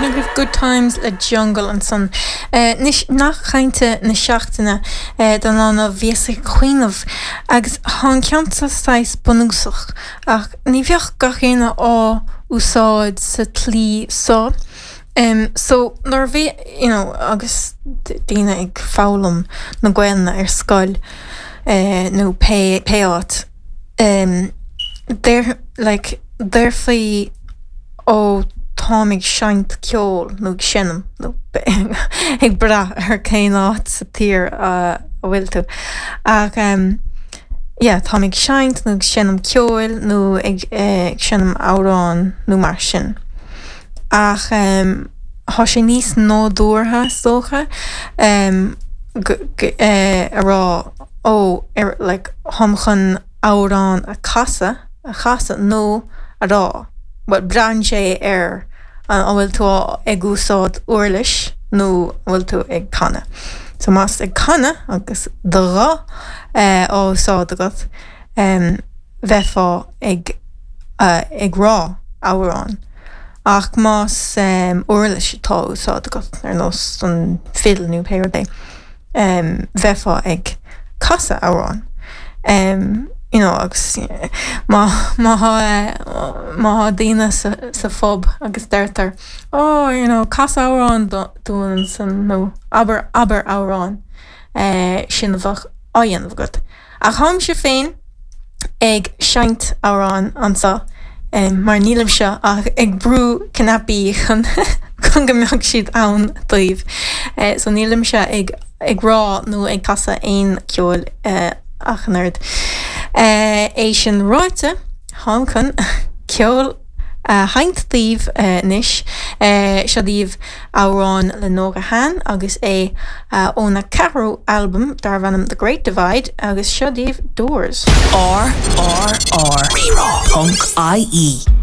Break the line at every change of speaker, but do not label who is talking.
B'in agaibh Good Times le Jungle ansan. Anois, nath cainte na seachtaine don lá inniu, bhíos ag cuimhneamh agus thá an ceann seo saghas bunúsach ach ní bheadh gach éinne á úsáid sa tslí so. So, nuair a bhí, you know, agus daoine ag foghlaim na Gaelainne ar scoil nó pé pé áit, deir, like, déarfaí ó táim ag seinnt ceoil nó ag seinm nó ag brath ar cén áit sa tír a bhfuil tú. Ach yeah, táim ag seinnt nó ag seinm ceoil nó ag seinm amhrán nó mar sin. Ach thá sé níos nádúrtha is dócha a rá ó like tháim chun amhrán a casadh, a chasadh nó a rá, bhuel braitheann sé ar an bhfuil tú ag úsáid uirlis nó an bhfuil tú ag canadh. So más ag canadh agus do ghuth á úsáid agat, bheifeá ag ag rá amhrán. Ach más uirlis atá á úsáid agat, ar nós an fidil nó pé rud é, bheifeá ag casadh amhrán. You know, agus má má thá má thá daoine sa sa phub agus deirtear oh you know cas amhrán dúinn ansan nó abair abair amhrán, sin a bheadh á dhéanamh agat. Ach tháimse féin ag seinnt amhráin anseo mar nílimse ach ag brú cnaipí chun chun go mbeadh siad ann daoibh. So nílimse ag ag rá nó ag casadh aon ceoil ach an oiread. É sin ráite, táim chun ceol a sheinnt daoibh anois. Seo daoibh amhrán le Nóra Han agus é óna ceathrú albam darbh ainm The Great Divide agus seo daoibh Doors.
RRR. Rí-Rá. Ponc IE.